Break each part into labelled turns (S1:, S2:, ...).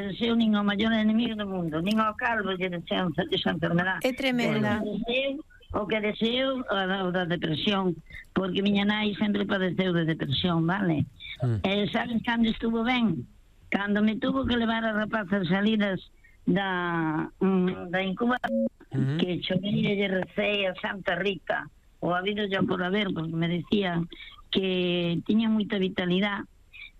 S1: deseo nin ao maior enemigo do mundo, nin ao calvo lle deseo esa enfermedad.
S2: É tremenda.
S1: O que deseo o da depresión, porque miña nai sempre padeceu de depresión, vale? Sabes cando estuvo ben? Cando me tuvo que levar a rapazas salidas da incubación, que chorei e recei a Santa Rita, o habido ya por haber, porque me decían que tiña moita vitalidade,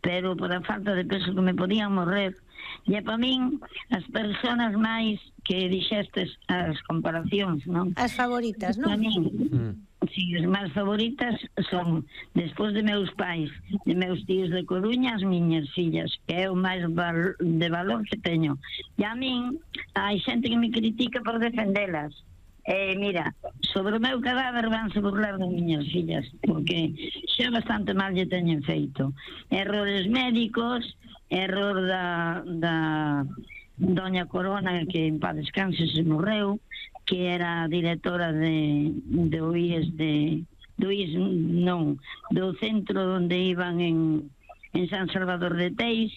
S1: pero por a falta de peso que me podían morrer. E para min, as persoas máis que dixestes as comparacións, non?
S2: As favoritas, non?
S1: Para min, si, as máis favoritas son, despois de meus pais, de meus tíos de Coruña, as miñas fillas, que é o máis de valor que teño. E a min, hai xente que me critica por defendelas. Mira, sobre o meu cadáver vanse burlar das miñas fillas, porque xa bastante mal lle teñen feito. Errores médicos, error da doña Corona, que en paz descanse se morreu, que era directora do IES do centro onde iban en San Salvador de Teis.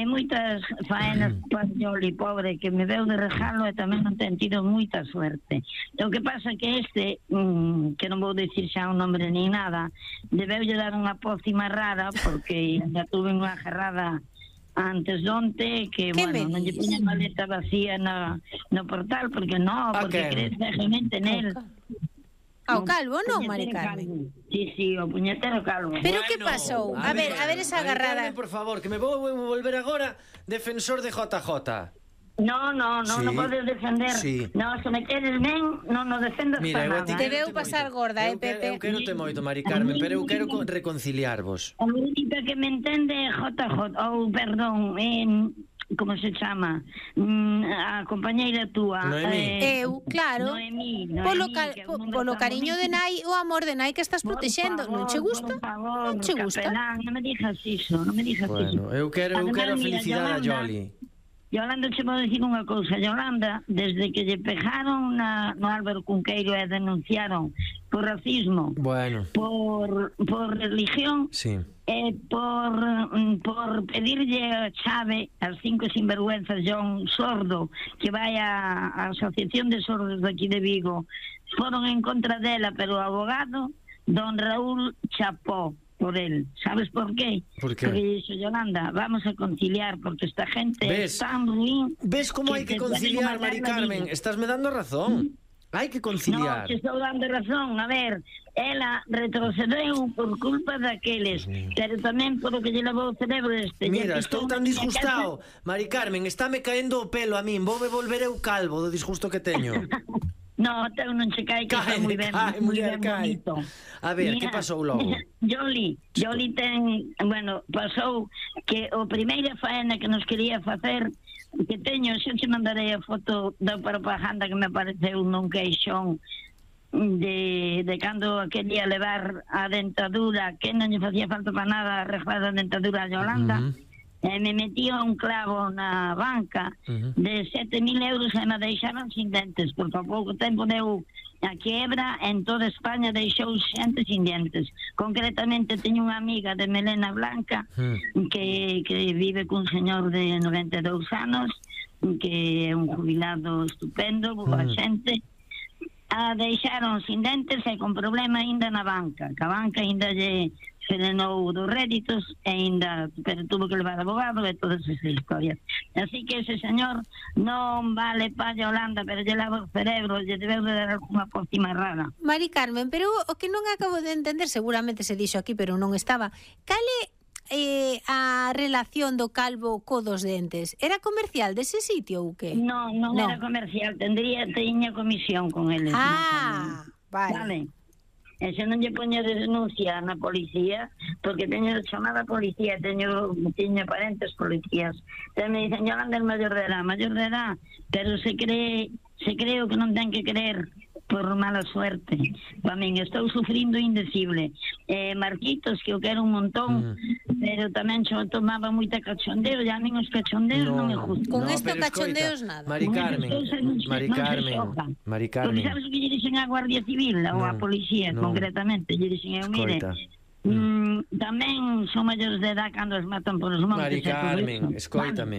S1: Moitas faenas Pañoli pobre que me veu de regalo e tamén non ten tido moita suerte. O que pasa que que non vou dicir xa un nombre ni nada, debeulle dar unha pócima rara porque já tuve unha agarrada antes de onte que, bueno, non lle puña maleta vacía no portal porque crees realmente nel.
S2: Ao calvo, non, Mari Carmen?
S1: Sí, o puñetero calvo.
S2: Pero que pasou? A ver esa agarrada.
S3: Por favor, que me vou volver agora defensor de JJ.
S1: Non podes defender. Non, se me queres ben, non nos defendas para nada.
S2: Te veu pasar gorda, Pepe?
S3: Eu quero te moito, Mari Carmen, pero eu quero reconciliarvos.
S1: A única que me entende é JJ, ou perdón, como se chama, a compañeira túa,
S2: eu, claro, polo cariño de nai, o amor de nai que estás protexendo, non che gusta? Non che gusta?
S1: Non me dixas iso, non me dixas iso.
S3: Bueno, eu quero a felicidade a Yoli.
S1: Yolanda, che vou dicir unha cousa. Yolanda, desde que lle pegaron no Álvaro Cunqueiro e denunciaron por racismo, por religión, por pedirlle a chave as 5 sinvergüenzas John Sordo, que vai a Asociación de Sordos de aquí de Vigo, foron en contra dela, pero o abogado don Raúl chapó por él. ¿Sabes por qué? Porque dixo, Yolanda, vamos a conciliar porque esta gente é tan ruin.
S3: ¿Ves como hai que conciliar, Mari Carmen? Estás me dando razón. Hai que conciliar.
S1: No, te estou dando razón. A ver, ela retrocedeu por culpa daqueles, pero tamén por o que lle levou o cerebro este.
S3: Mira, estou tan disgustado, Mari Carmen, estáme caendo o pelo a min. Voume volver eu calvo do disgusto que teño.
S1: No, teu non se cae, que está moi ben bonito.
S3: A ver, que pasou logo?
S1: Yoli ten, bueno, pasou que o primeira faena que nos quería facer, que teño, xa te mandarei a foto da propaganda que me apareceu nun queixón de cando quería levar a dentadura, que non lle facía falta para nada arreglar a dentadura a Yolanda. Me metía un clavo na banca de 7.000 euros e me deixaron sin dentes, porque a pouco tempo deu a quiebra, en toda España deixou xente sin dentes. Concretamente teño unha amiga de melena blanca que vive cun señor de 92 anos, que é un jubilado estupendo, boa xente. A deixaron sin dentes e con problema ainda na banca, que a banca ainda lle frenou dos réditos e ainda, pero tuvo que levar abogado e todas esas historias. Así que ese señor non vale pa Yolanda, pero lle lava o cerebro, lle debeu de dar alguna pócima rara.
S2: Mari Carmen, pero o que non acabo de entender, seguramente se dixo aquí, pero non estaba, cal é a relación do calvo co dos dentes? Era comercial dese sitio ou que?
S1: Non era comercial, tiña comisión con eles. Vale. E se non lle poño de denuncia na policía, porque teño chamada a policía, teño parentes policías, pero me dicen, Yolanda é maior de edad, pero se cree o que non ten que creer por mala suerte. Para min estou sufrindo indecible. Marquitos, que eu quero un montón, pero tamén tomaba moita cachondeo, e a min os cachondeos non me gustan.
S2: Con esto cachondeos nada.
S3: Mari Carmen.
S1: Porque sabes o que lle dixen a Guardia Civil ou a policía, concretamente, lle dixen, mire, tamén son maiores de edad cando os matan por os montes.
S3: Mari Carmen, escoítame,